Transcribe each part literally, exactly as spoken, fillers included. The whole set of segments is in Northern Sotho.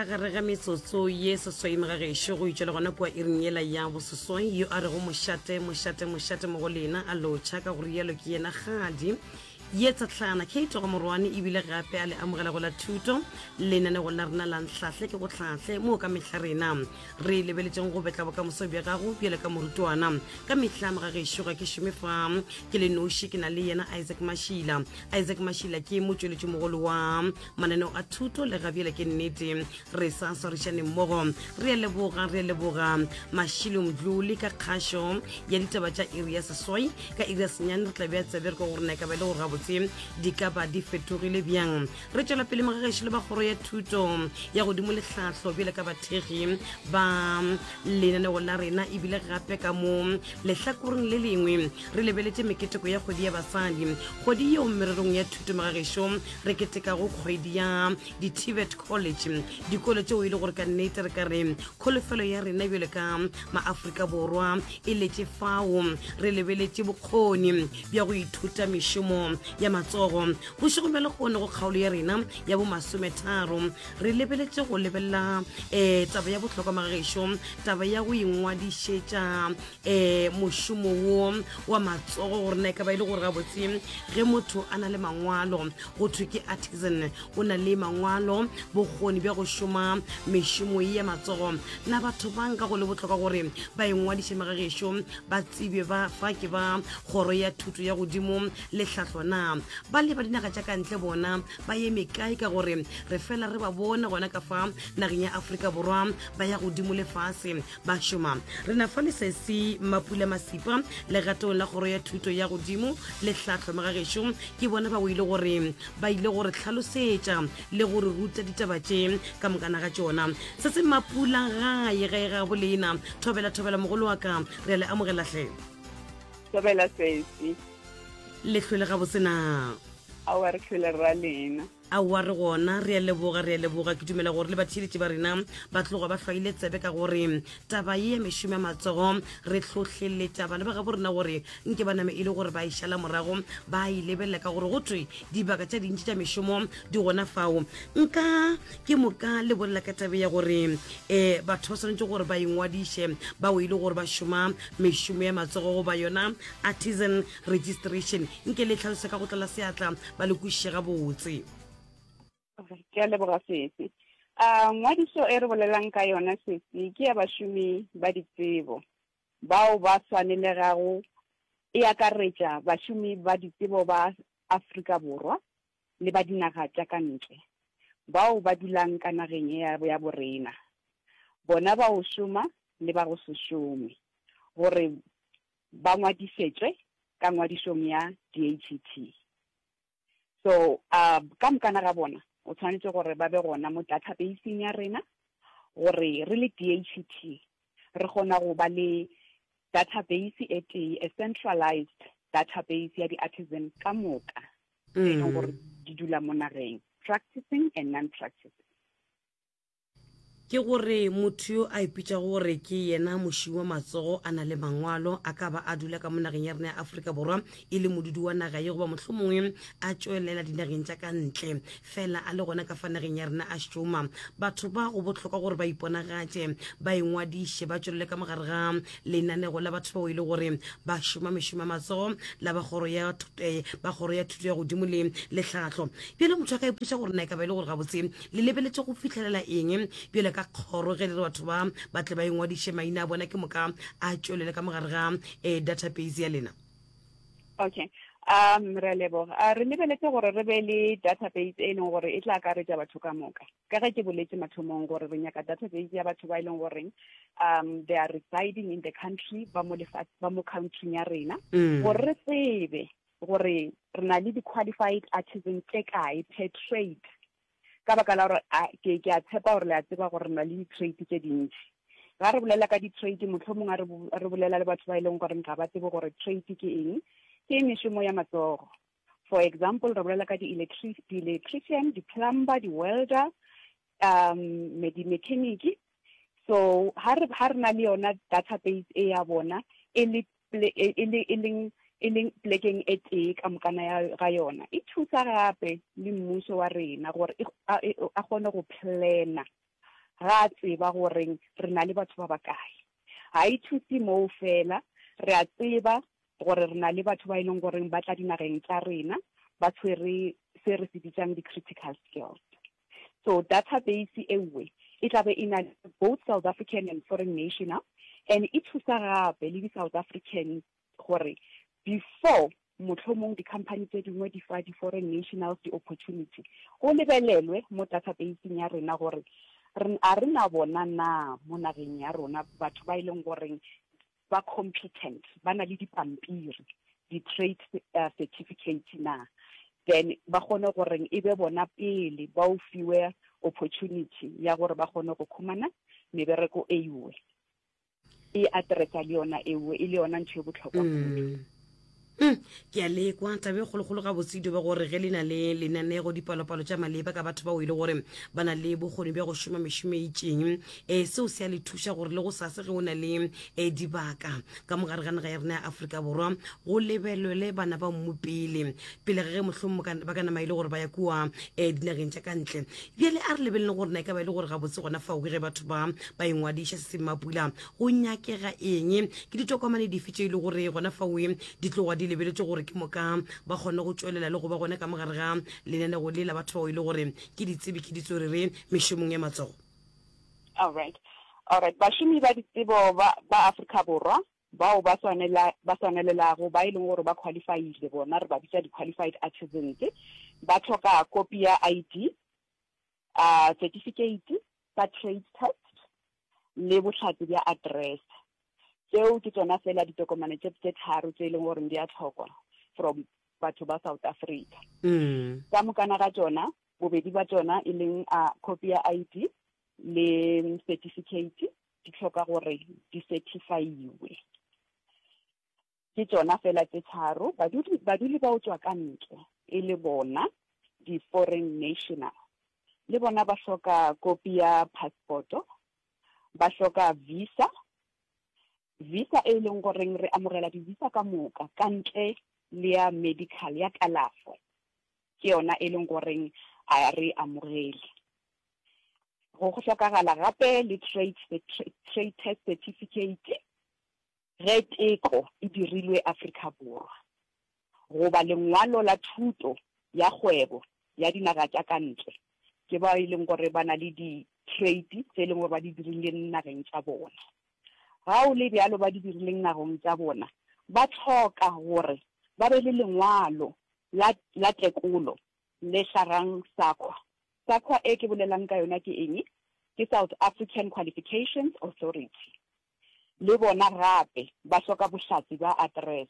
Ka gare ga metsotso ye seswai mogagešo go itšwela gona kua iring yela ya boseswai, yo a rego mošate mošate mošate mo go lena a lotšha ka go rialo ke yena kgadi ye tsatlana Kate ga Morwane, ebile gape a le amogela go la thuto lenanego la rena la Ntlhahle ke go hlahle, moo ka mehla rena re lebeletšeng go betla bokamoso bja gago bjale ka morutwana. Ka mehla mogagešo ga ke šome fa ke le noši, ke na le yena Isaac Mashila. Isaac Mashila ke motšweletši mogolo wa mananeo a thuto le gabjale ke nnete re sa swarišane mmogo. Re a leboga, re a leboga Mashilo Mdluli ka kgašo ya ditaba tša iri ya seswai. Ka iri ya senyane re tla bea tsebe re ka gore na e ka ba e le gore gabotse di ka ba di fetogile bjang. Re tšwela pele mogagešo le ba kgoro ya thuto ya godimo le tlhahlo bjale ka bathekgi ba lenaneo la rena, ebile gape ka mo lehlakoreng le lengwe re lebeletše meketeko ya kgwedi ya basadi, kgwedi yeo mererong ya thuto mogagešo re ketekago kgwedi ya di-T V E T college, dikolo tšeo e le gore ka nnete re ka re kholofelo ya rena bjale ka maafrika Borwa e letše fao. Re lebeletše bokgoni bja go ithuta mešomo ya matsogo. Bošego bja lekgone go kgaolo ya rena ya bomasometharo re lebeletše go lebelela um taba ya bohlokwa magagešo, taba ya go ingwadišetša um mošomo wo wa matsogo, gore na e ka ba e le gore gabotse ge motho a na le mangwalo go thwe ke artisan, o na le mangwalo, bokgoni bja go šoma mešomo ye ya matsogo, na batho ba nka go le bohlokwa gore ba ingwadiše magagešo, ba tsebe ba fa ke ba kgoro ya thuto ya godimo le tlhahlo? Na ba le ba dinaga tša ka ntle bona ba eme kae, ka gore re fela re ba bone gona ka fa nageng ya Afrika Borwa ba ya godimo lefase ba šoma? Re na fa le sesi Mapula Masipa legatong la kgoro ya thuto ya godimo le tlhahlo magagešo, ke bona ba o ile gore ba ile gore hlalosetša le gore ruta ditaba tše ka mokana ga tšona. Se se Mapula gae gae ga bolena, thobela thobela mogolo wa ka, re a le amogela hle. Thobela sesi. Le hlwele gabotse na? Aowa, re tlhole ra lena. Aowa, re gona, re a leboga, re a leboga. Ke dumela gore le batheeletši ba rena ba tloga ba hlwaile tsebe ka gore taba ye ya mešomo ya matsogo re hlohleletša bana ba gabo rena gore nke ba name e le gore ba e šala morago, ba e lebelela, ka gore go thwe dibaka tša dintši tša mešomo di gona fao. Nka ke moka le bolela ka tabe ya gore um batho ba swanetše gore ba ingwadiše bao e le gore ba šoma mešomo ya matsogo goba yona artisan registration. Nke le tlhalose ka go tlala seatla ba le kwešiše gabotse. Ke a leboga sesi. um ngwadišo e re bolelang ka yona sesi ke ya bašomi ba ditsebo bao ba swanelegago. E akaretša bašomi ba ditsebo ba Afrika Borwa le ba dinaga tša ka ntle bao ba dulang ka nageng ya ya borena, bona ba go šoma le ba go se šome, gore ba ngwadišetšwe ka ngwadišong ya D H E T. So uh, ka mokana ga bona o tshwanetse gore ba be gona mo databaseng ya rena, gore re le D H E T re kgona go ba le database e tee, a centralized database ya di-artisan ka moka e leng gore di dula mo nageng, practicing and non-practicing. Ke gore motho yo a ipitšago gore ke yena mošomi wa matsogo, a na le mangwalo, a ka ba a dula ka mo nageng ya rena ya Afrika Borwa e le modudi wa naga ye, goba mohlomongwe a tšwelela dinageng tša ka ntle fela a le gona ka fa nageng ya rena a šoma, batho ba go bohlokwa gore ba iponagatše, ba ingwadiše, ba tšwelele ka mogare ga lenanego la batho bao e le gore ba šoma mešomo ya matsogo la ba kgoro ya eh, ba kgoro ya thuto ya godimo le letlhahlo. Bjale motho a ka ipotša gore na e ka ba e le gore gabotse le lebeletše go fitlhelela eng bjale ka kgoro ge le re batho ba ba tle ba ingwadiše maina a bona, ke moka a tšwelele ka mogare ga um database ya lena? Okay, um re a leboga. uh, re lebeletse gore re be le database e leng gore e tla akaretša batho ka moka, ka ge ke boletse mathomong gore re nyaka database ya batho ba e leng goreng um they are residing in the country, ba mo lefa ba mo country ya rena, Mm. gore re tsebe gore re na le di-qualified artisan tse kae per trade, ka baka la gore ke ke a tshepa gore le a tseba gore re na le di-trade tse dintši. Ga re bolela ka di-trade, mohlomong a re bolela le batho ba e leng gore ga ba tsebe gore trade ke eng, ke mešomo ya matsogo. For example, re bolela ka di-electrician, di-plumber, di-welder, um di-mechanic. So ha re ha re na le yona database e ya bona e le e le e leng e leng plekeng e tee ka mokana ya ga yona, e thusa gape le mmušo wa rena gore a kgone go plana Ga a tseba goreng re na le batho ba bakae. Ga e thuse moo fela, re a tseba gore re na le batho ba e leng goreng ba tla dinageng tša rena ba tshwere se re se bitsang di-critical skills. So database e nngwe e tla be e na le both South African and foreign national, and e thusa gape le di-South African gore before mohlomong di-company tse dingwe di fa di-foreign nationals di-opportunity, go lebelelwe mo databaseng ya rena gore a re na bona na mo nageng ya rona batho ba e leng goreng ba competent, ba na le dipampiri, di-trade uh, certificate na, then ba kgone goreng e be bona pele ba o fiwe opportunity ya gore ba kgone go khumana mebereko e iwe e addressa le yona ewe e le yona ntho e botlhokwa kudu. Mm, ke a lekwa tabe e kgolokgolo gabotse dio ba gore ge le na le lenanego dipalopalo tša maleba ka batho bao e le gore ba na le bokgoni bja go šoma mešomo e itšeng, um seo se a le thuša gore le go sase ge o na le um dibaka ka mogare ga naga ya rena ya Afrika Borwa go lebelelwe bana ba mmu pele pele ga ge mohlomong ba ka nama e le gore ba ya kua um dinageng tša ka ntle. Bjale a re lebeleleng gore na e ka ba e le gore gabotse gona fao ke ge batho ba ba ingwadiša se semapula go nyakega eng, ke ditokomane dife tše e le gore gona fao di tloga di lebeletše gore ke moka ba kgone go tšwelela le go ba gona ka mogare ga lenanego le la batho bao e le gore ke ditsebi ke ditswerere mešomong ya matsogo. Alright, alright. Bašomi ba ditsebo ba ba Afrika Borwa bao ba swanela ba swanelelago ba e leng gore ba qualifyile, bona re ba bitsa di-qualified artisans, ba tlhoka kopi ya I D, uh, certificate sa trade test le bohlatse bja address. Tseo ke tsona fela ditokomane tše tše tharo tse e leng gore di a tlhokwa from batho ba South Africa. Mm. Ka mokana ga tsona, bobedi ba tsona e leng a copy ya I D le certificate di tlhoka gore di certifyiwe. Ke tsona fela tse tharo. Badudi baduli ba o tswa ka ntle e le bona di-foreign national, le bona ba hloka kopi ya passport-o, ba hloka visa, visa e leng goreng re amogela di-visa ka moka ka ntle le ya medical, ya kalafo ke yona e leng goreng a re amogele. Go hlokagala gape le trade trade test certificate ge teko e dirilwe Afrika Borwa, goba lengwalo la thuto ya kgwebo ya dinaga tša ka ntle, ke ba e leng gore ba na le di-trade tse e leng gore ba di dirileng nageng tša bona. Ga o le bjalo ba di dirileng nageng tša bona, ba tlhoka gore ba be le lengwalo la la tekolo le hlagang SAQA. SAQA e ke bolelang ka yona ke eng? Ke South African Qualifications Authority. Le bona gape ba hloka bohlatse ba address,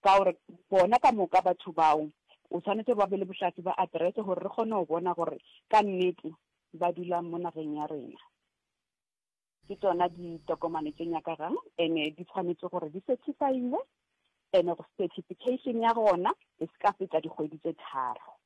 ka gore bona ka moka batho bao o tshwanetse ba be le bohlatse ba address gore re kgone go bona gore ka nnete ba dula mo nageng ya rena. Ke tsona ditokomane tse nyakagang, ene di tshwanetse gore di certifyiwe, ene certification ya gona e se ka feta dikgwedi tse tharo.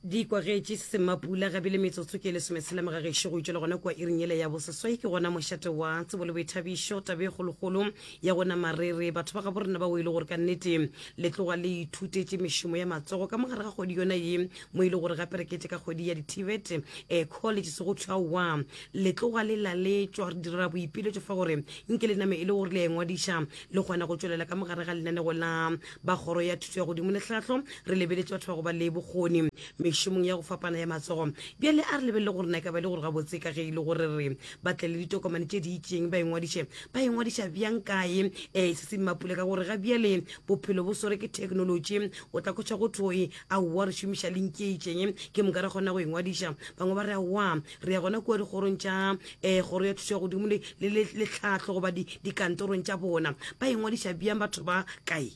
Di kwagetše semapula gabile metsotso ke lesometshela mogagešo go itšwela gona kua iring yele ya boseswai. Ke gona mošate wa tsebo le boithabišo, tabe e kgolokgolo ya gona marere batho ba gabo rena ba o e le gore ka nnete le tloga le ithutetše mešomo ya matsogo ka mogare ga kgwedi yona ye mo e le gore gape re kete ka kgwedi ya di-T V E T um college se go thwaowa le tloga le laletšwa. Re dira boipiletšo fa gore nke le name e le gore le a ingwadiša le kgona go tšwelela ka mogare ga lenanego la ba kgoro ya thuto ya godimo le tlhahlo. Re lebeletše batho ba go ba le bokgoni mešomong ya go fapana ya matsogo. Bjale a re lebelele gore na e ka ba e le gore gabotse ka ge e le gore re ba tle le ditokomane tše di itseng ba ingwadiše, ba ingwadiša bjang kae um se se mmapule, ka gore ga bjale bophelo bo swere ke technology, o tla kgotša go thoe aowa re šomiša link e itseng ke moka re kgona go ingwadiša, bangwe ba re aowa re ya gona kua dikgorong tša um kgoro ya thuto ya godimo le le- le tlhahlo goba di- dikantorong tša bona. Ba ingwadiša bjang batho ba kae?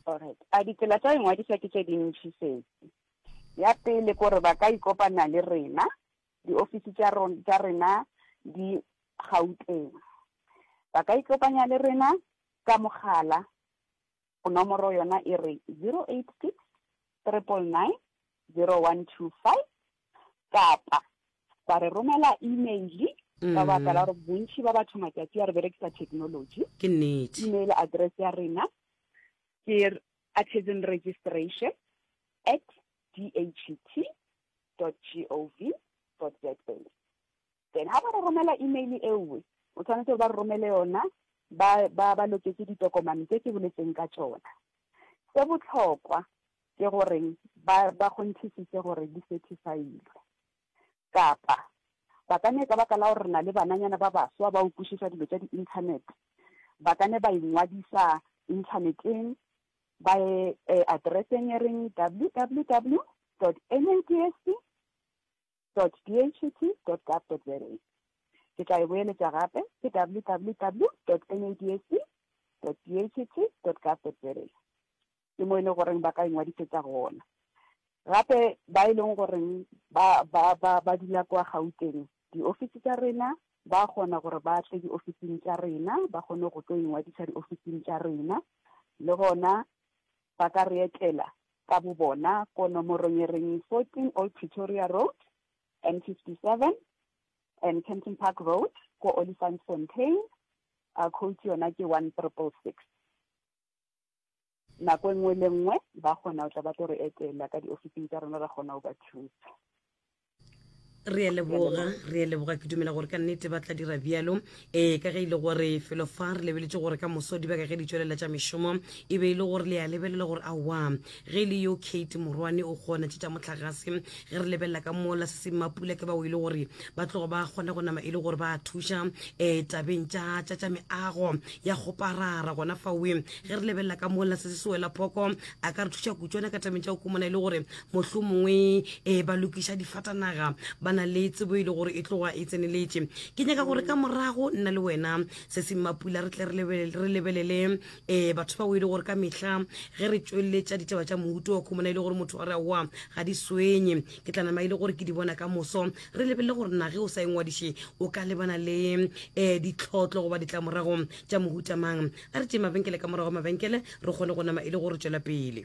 Alright, a ditsela tša ingwadiša ke tše dintši sesi. Ya pele kore ba ka ikopana le rena, diofisi tša ron- tša rena di Gauteng. Ba ka ikopanya le rena ka mogala, nomoro yona e re zero eight six triple nine zero one two five, kapa ba re romela email ka baka la gore bontši ba batho matšatši a re berekisa technology. Ke nnete. Email address ya rena ke artisan registration at D H T dot gov dot romela email ewe, o tshwanetse gore ba re romele yona, ba ba ba loketse ditokomane tse ke boletseng ka tšona. Se bohlokwa ke gore ba ba kgonthisise gore di certifyilwe. Kapa ba ka ne ka baka la gore re na le bananyana ba baswa ba o kwešiša dilo tša di-internet, ba ka ne ba ingwadisa inthaneteng, ba ye eh, addresseng e reng www dot nadsc dot dhet dot gov dot za. Ke tla e boeletša gape, ke www dot nadsc dot dhet dot gov dot za. Ke mo e leng goreng ba ka ingwadisetša gona. Gape ba e leng goreng ba ba ba ba dula kwa Gauteng, diofisi tša rena ba kgona gore ba tle diofising tša rena, ba kgone go tlo ingwadisa diofising tša rena. Le gona ba ka re etela ka bo bona ko nomorong e reng fourteen Old Pretoria Road, N fifty-seven, and Kempton Park Road, ko Olifantsfontein. Uh, code yona ke one triple six. Nako e nngwe le nngwe ba kgona go tla ba tlo re etela ka diofising tša rena, ra kgona go ba thusa. Re a leboga, re a leboga. Ke dumela gore ka nnete ba tla dira bjalo. Ee, ka ge e le gore felo fa re lebeletše gore ka moso dibaka ge di tšwelela tša mešomo, e be e le gore le a lebelela gore aowa, ge e le yo Kate Morwane o kgona tše tša mohlagase. Ge re lebelela ka mola se se Mapula ke bao e le gore ba tloga ba kgona go nama e le gore ba thuša um tabeng tša tša tša meago ya kgoparara gona fawe. Ge re lebelela ka mola se se sewela phoko a ka re thuša kutšwana ka tabeng tša go kumana e le gore mohlomongwe um ba lokiša difatanaga, ba na le tsebo e le gore e tloga e tseneletše. Ke nyaka gore ka morago nna le wena se se Mapula re tle re lebelele, re lebelele um batho bao e le gore ka mehla ge re tšweletša ditaba tša mohuto wa khumana e le gore motho a re aowa ga di swenye, ke tla nama e le gore ke di bona ka moso. Re lebelele gore na ge o sa engwadiše o ka lebana le um ditlhotlo goba ditlamorago tša mohuta mang. A re tšee mabenkele, ka morago mabenkele re kgone go nama e le gore tšwela pele.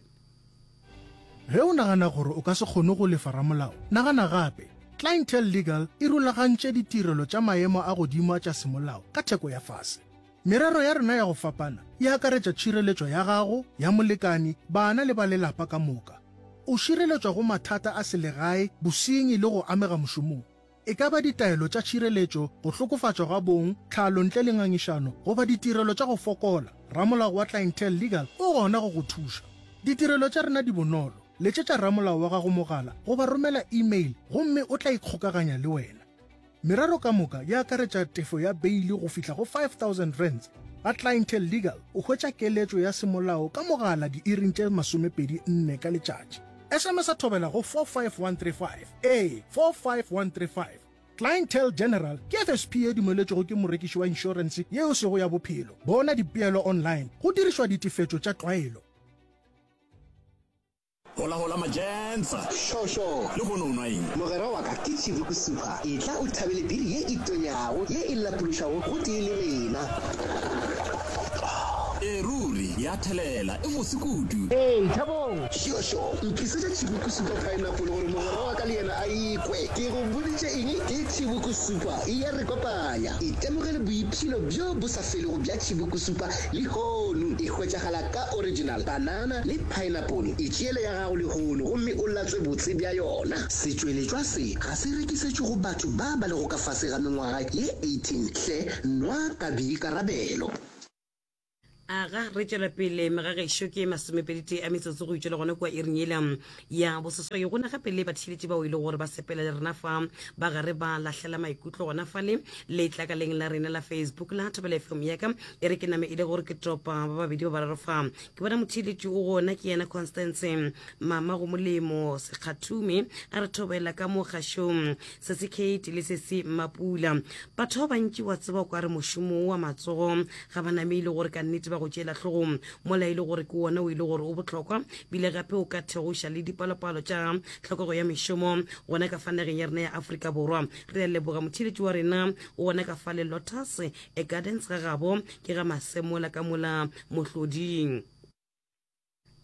Ge o nagana gore o ka se kgone go lefa ramolao, nagana gape. Clientele Legal e rulagantše ditirelo tša maemo a godimo a tša semolao ka theko ya fase. Merero ya rena ya go fapana e akaretša tšhireletšo ya gago, ya molekani, bana le ba lelapa ka moka. O šireletšwa go mathata a selegae, bosenyi le go amega mošomong. E ka ba ditaelo tša tšhireletšo, go hlokofatšwa ga bong, tlhalo ntle le ngangišano, goba ditirelo tša go fokola, ramolao wa Clientele Legal o gona go go thuša. Ditirelo tša rena di bonolo. Letšetša ramolao wa gago mogala goba romela email gomme o tla ikgokaganya le wena. Merero ka moka e akaretša tefo ya beile go fihla go five thousand rands. Ga Clientele Legal o hwetša keletšo ya semolao ka mogala diiring tše masomepedi nne ka letšatši. S M S a thobela go four five one three five. Ee, four five one three five. Clientele General ke F S P e dumeletšwego ke morekiši wa inšorense yeo sego ya bophelo. Bona dipeelo online go dirišwa ditefetšo tša tlwaelo. Hola hola majensa. Sho sho. Le hono o nwa eng? Mogwera wa ka ke Chibuku Super. Etla o thabele biri ye e tonyago, ye e lapološago gotee le rena. E ruri ya thelela, e bose kudu. Hey Thabong. Sho sho. Ntlisetša Chibuku Super Pineapple gore mogwera wa ka le yena a ikwe. Ke go boditše eng? Ke Chibuku Super e ya re kopanya. Itemogele boipshino bjo bo sa felego bja Chibuku Super lehono. E hwetšagala ka original, banana le pineapple. Itšeele ya gago lehono gomme o latswe botse bja yona. Setšweletšwa se ga se rekisetšwe go batho ba ba lego ka fase ga mengwaga ye eighteen. Hle nwa ka boikarabelo. Aga re tšwela pele megagešo ke masomepedi tee a metsotso go itšwela gona kua iring yela ya boseswai. Go na gape le batheeletši bao e le gore ba sepela le rena fa ba gare ba lahlela maikutlo gona fale letlakaleng la rena la Facebook la Thobela F M yaka. E re ke name e le gore ke topa ba babedi ba bararo fa. Ke bona motheeletši o gona ke yena Constance Mama go Molemo Sekgathume a re thobela ka mo kgašong se se Kate le se se Mapula. Batho ba bantši wa tseba o ka re mošomo wa matsogo ga ba name e le gore ka nnete ba go tšeela hlogong mola e le gore ke wona o e le gore o bohlokwa bile gape o ka thegoša le dipalopalo tša tlhokego ya mešomo gona ka fa nageng ya rena ya Afrika Borwa. Re a leboga motheeletši wa rena o gona ka fa le Lotus e Gardens ga gabo ke ga Masemola ka mola Mohloding.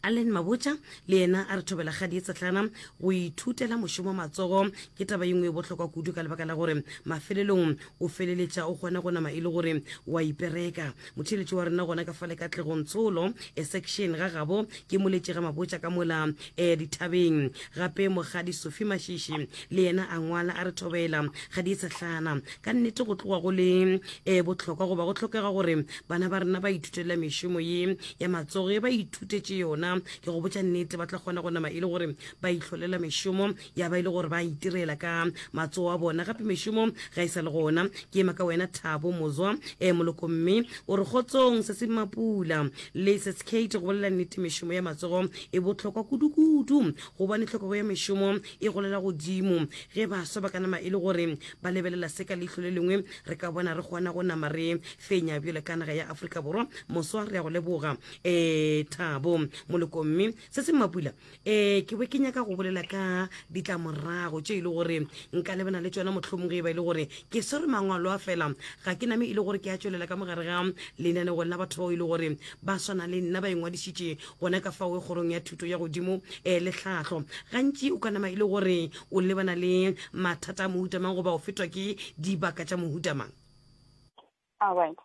Allen Mabotja le yena a re thobela kgadi ye tsehlana go ithutela mošomo wa matsogo ke taba ye nngwe e bohlokwa kudu ka lebaka la gore mafelelong o feleletša o kgona go nama e le gore wa ipereka. Motheeletši wa rena gona ka fale Katlegong Tsholo e section ga gabo ke moletši ga Mabotja ka mola e dithabeng. Gape Mokgadi Sophie Mashishi le yena a ngwala a re thobela kgadi ye tsehlana ka nnete go tloga go le e bohlokwa goba go hlokega gore bana ba rena ba ithutela mešomo ye ya matsogo ge ba ithutetše yona ke go botša nnete ba tla kgona go nama e le gore ba ihlolela mešomo ya ba e le gore ba itirela ka matsogo a bona gape mešomo ga e sa le gona ke ema ka wena Thabo Mozwa e moloko mme o re kgotsong se se Mapula le se Kate go bolela nnete mešomo ya matsogo e bohlokwa kudu-kudu gobane tlhokego ya mešomo e golela godimo ge baswa ba ka nama e le gore ba lebelela se ka leihlo le lengwe re ka bona re kgona go nama re fenya bjale ka naga ya Afrika Borwa moswa re ya go leboga um Thabo Moloko mme se se Mapula um ke be ke nyaka go bolela ka ditlamorago tše e le gore nka lebana le tšona mohlomong ge e ba e le gore ke swere mangwalo a fela ga ke name e le gore ke a tšwelela ka mogare ga lenanego la batho bao e le gore ba swana le nna ba ingwadišitše gona ka fao kgorong ya thuto ya godimo um le tlhahlo gantši o ka nama e le gore o lebana le mathata a mohuta mang goba o fetwa ke dibaka tša mohuta mang? Alright.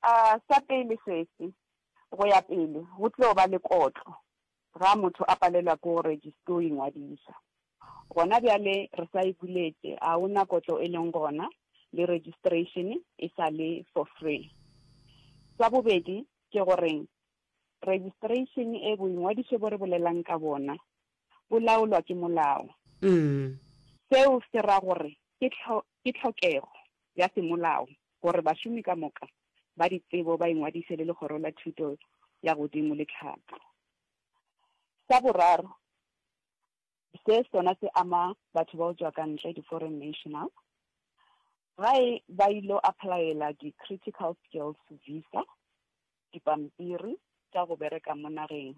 Uh, sa pele sesi, go ya pele go tlo ba le kotlo ga motho a palelwa ke go go ingwadiša. Gona bjale re sa e buletše, a ona kotlo e leng gona le registration e sa le for free. Sa bobedi ke goreng registration e boingwadišo bo re bolelang ka bona bo laolwa ke molao. Mm. Seo se ra gore ke ke tlhokego ya semolao gore bašomi ka moka ba ditsebo ba ingwadiše le legoro la thuto ya godimo le tlhahlo. Sa boraro, se sona se ama batho ba go tšwa ka ntle di-foreign national gae ba ilo applyela di-critical skills visa dipampiri tša go bereka mo nageng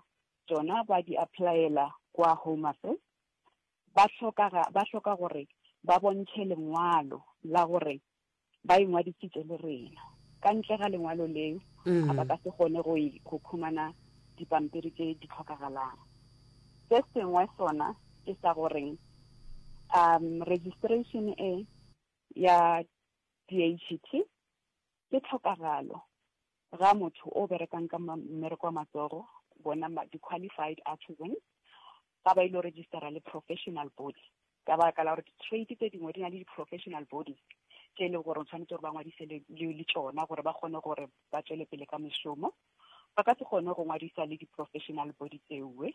tšona ba di applyela kwa Home Affairs ba hloka ba hloka gore ba bontšhe lengwalo la gore ba ingwadišitše le rena ka ntle ga lengwalo leo Mm. a ba ka se kgone go go khumana dipampiri tše di tlhokagalang se sengwe sona ke sa goreng um registration e ya D H E T ke tlhokagalo ga motho o berekang ka mmereko wa matsogo bona di-qualified artisans ga ba ile registera le professional body ka baka la gore di-trade tse dingwe di na le di-professional bodies tše e leng gore o tshwanetse gore ba ngwadise le le tšona gore ba kgone gore ba tswele pele ka mešomo ba ka se kgone go ngwadisa le di-professional body tsewe.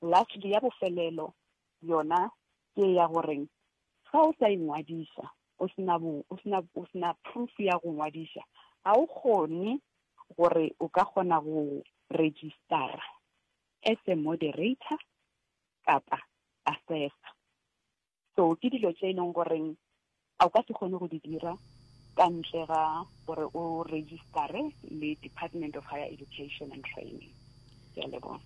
Lastly, ya bofelelo yona ke ya goreng ga o sa ingwadiša o sena bo o sena o sena proof ya go ngwadiša ga o kgone gore o ka kgona go registera as a moderator kapa assessor. So ke dilo tše e leng goreng a o ka se kgone go di dira ka ntle ga gore o registere le Department of Higher Education and Training. Ke a leboga.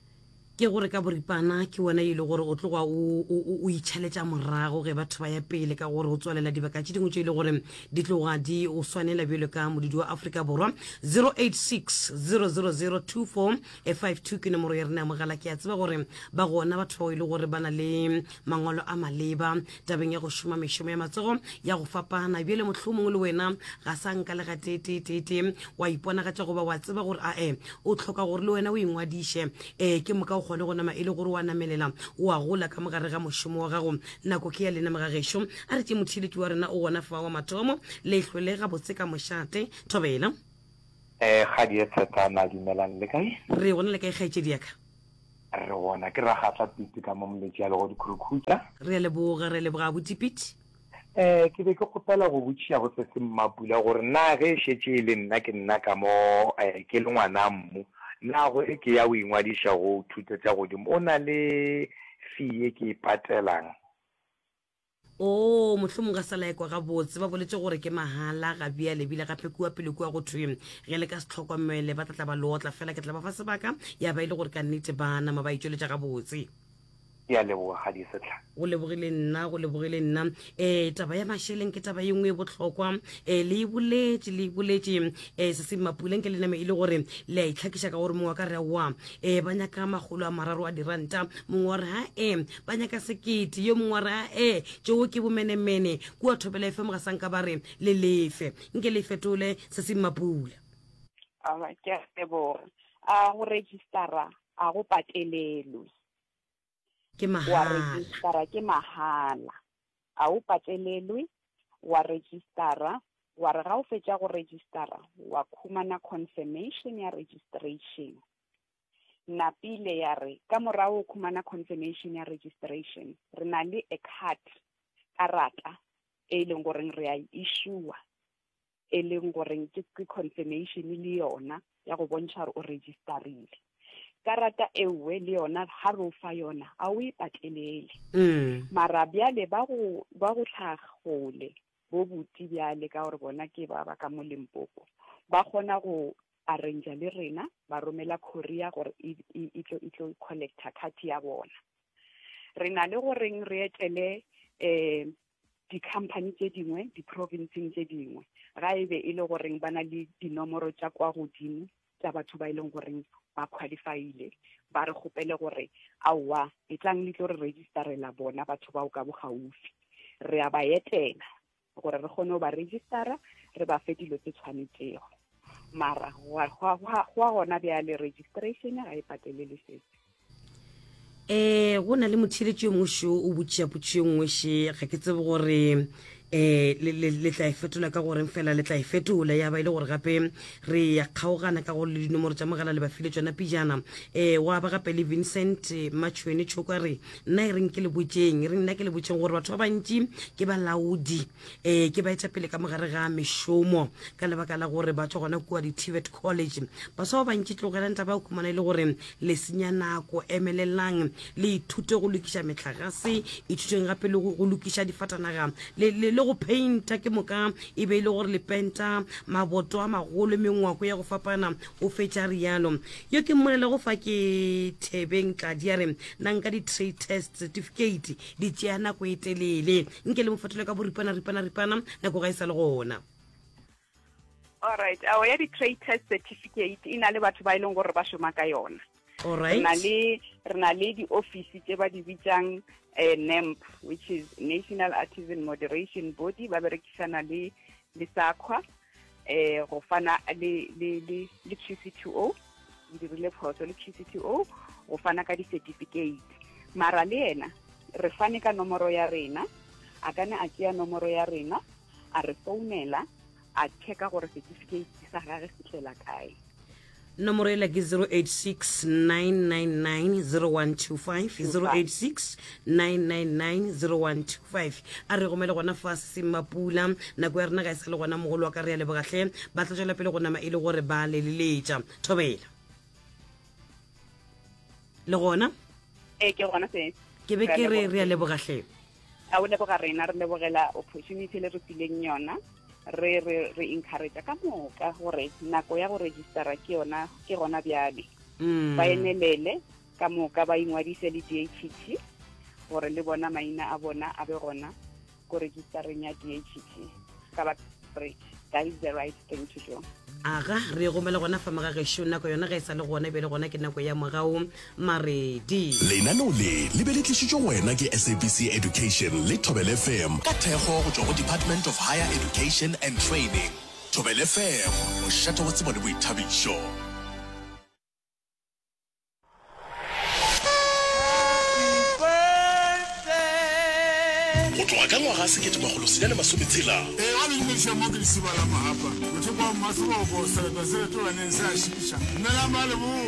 Ke gore ka boripana ke wena e le gore o tloga o o itšhaletša morago ge batho ba ya pele ka gore o tswalela dibaka tše dingwe tše e le gore di tloga di o swanela bjalo ka modudi wa Afrika Borwa. zero eight six zero zero zero two four five two ke nomoro ya rena ya mogala. Ke a tseba gore ba gona batho bao e le gore ba na le mangwalo a maleba tabeng ya go šoma mešomo ya matsogo ya go fapana bjale mohlomongwe le wena ga sa nka le gateeteetee wa iponagatša goba wa tseba gore ae o tlhoka gore le wena o ingwadiše um ke moka o kgone go nama e le gore wa namelela o a gola ka mogare ga mošomo wa gago. Nako ke ya lena mogagešo. A re tše motheeletši wa rena o gona fa wa mathomo leihlo le gabotse ka mošate. Thobela. Eh kgadi e tshetana, dumelang, le kae? Re gona, le kae kgaetšedi yaka? Re gona, ke ragatla Pete ka mo moletši ya lego dikhurukhutša. Re a leboga, re a leboga botipiti. Eh ke be ke kgopela go botšiša go se se Mmapula gore na ge e šetše e le nna ke nna ka mo eh ke le ngwana mmu na go e ke ya o ingwadiša go thuto tša godimo o na le fee e ke e patelang? O mohlomong ga sa laekwa gabotse ba boletse gore ke mahala ga bjale ebile gape kua pele kua go thwe ge le ka se tlhokomele ba tla tla ba leotla fela ke tla ba fa sebaka ya ba e le gore ka nnete ba nama ba itšweletša gabotse. Ke a leboga Kgadi Sehlare. Go lebogile nna, go lebogile nna. Um taba ya mašeleng ke taba ye nngwe e bohlokwa. Um le e boletše, le e boletše. Um se se Mapula nke le name e le gore le a itlhakiša ka gore mongwe wa ka re aowa, um ba nyaka makgolo a mararo a diranta, mongwe wa re ha e, ba nyaka sekete, yo mongwe wa re ha e, tšeo ke bomenemene. Kua Thobela F M ga sa nka ba re le lefe. Nke le e fetole se se Mapula. Alright, ke a leboga. A go registera a go patelelwe. Ke Wa mahala. registera ke mahala. A o patelelwe, wa registera, wa re ga o fetša go registera, wa khumana confirmation ya registration. Napile ya re, ka morago o khumana confirmation ya registration, re na le a card, karata, e leng goreng re a e issue-a, e leng goreng ke, ke confirmation le yona ya go bontšha gore o registerile. Karata e nngwe le yona ha re o fa yona a o e patelele. Mm. Mara bjale ba go, ba go tlhagole bo buti bjale ka gore bona ke ba ba ka mo Limpopo, ba kgona go arrange le rena, ba romela courier gore e, e, e tlo, e tlo collecta card ya bona. Re na le goreng re etele, eh, di-company tše dingwe, di-provinceng tše dingwe, ga e be e le goreng ba na le dinomoro tša kwa godimo tša batho ba e leng goreng ba qualifyile, ba re kgopele gore aowa, e tlang le tlo re registerela bona batho bao ka bogaufi. Re a ba etela gore re kgone go ba registera, re ba fe dilo tse tshwanetšego. Mara gwa, gwa, gwa, gwa gona bjale registration ga e patelele sese. Eh, go na le motheeletši yo mongwe šo o botšiša potšišo ye nngwe še, ga ke tsebe gore, eh, le, le, le tla e fetola ka goreng, fela le tla e fetola ya ba e le gore gape re ya kgaogana ka gore le dinomoro tša mogala le ba file tšona pejana. Eh, wa ba gape le Vincent Matšhwene Tšhoko a re, nna e reng ke le botšeng, e reng nna ke le botšeng gore batho ba bantši ke balaodi, eh, ke baetapele ka mogare ga mešomo ka lebaka la gore ba tšwa gona kua di-T V E T College. Baswa ba bantši tlogelang taba ya go khumana e le gore le senya nako, emelelang le ithute go lokiša metlagase, ithuteng gape le go, go lokiša difatanaga, le, le, le go painta, ke moka e be e le gore le penta maboto a magolo, mengwako ya go fapana, o fetša rialo. Yo ke mmolele go fa ke Thebeng Tladi a re, nna nka di-trade test certificate di tšea nako e telele, nke le mo fetole ka boripana, ripana, ripana, nako ga e sa le gona. All right, ao ya di-trade test certificate e na le batho ba e leng gore ba šoma ka yona. All Re na right. le, re na le di-office tse ba di bitsang, eh, N A M B, which is National Artisan Moderation Body, ba berekisana le, le SAQA, eh, go fana le, le, le, le Q C T O, ke dirile phoso, le Q C T O, go fana ka di-certificate. Mara le yena, re fane ka nomoro ya rena, a ka ne a tšea nomoro ya rena, a re founela, a checka gore certificate sa gagwe se tlela kae. Nomoro ela ke zero eight six nine nine nine zero one two five, zero eight six nine nine nine zero one two five. A re gomele gona fa se Mapula, nako ya rena ga e sa le gona, mogolo wa ka re a lebogahle, ba tla tšwela pele go nama e le gore ba le leletša. Thobela. Le gona? Ee, ke gona se. Ke be Re a ke re leboga. re a lebogahle. A o leboga rena, re lebogela opportunity le re fileng yona. Re, re, re encourage ka moka gore nako ya go registera ke yona, ke gona bjale. Mm. Ba emelele ka moka ba ingwadise le D H T gore le bona maina a bona a be gona ko registereng ya D H T. Ka ba re that is the right thing to do. Aga, re gomela gona fa magagešo, nako yona ga e sa le gona, e be le gona ke nako ya mogao Maredi. Lenaneo le le be le tlišitšwe go wena ke S A B C Education le Thobela F M ka thekgo go tšwa go Department of Higher Education and Training. Thobela F M, mošate wa tsebo le boithabišo. Go tloga ka ngwaga sekete makgolo senyane masometshela. Ee, wa le dumediša mo ke lesiba la Mahapa. Bothoko wa Mmaseboko, sereto se retolaneng se a šiša. Dumelang ba leboa.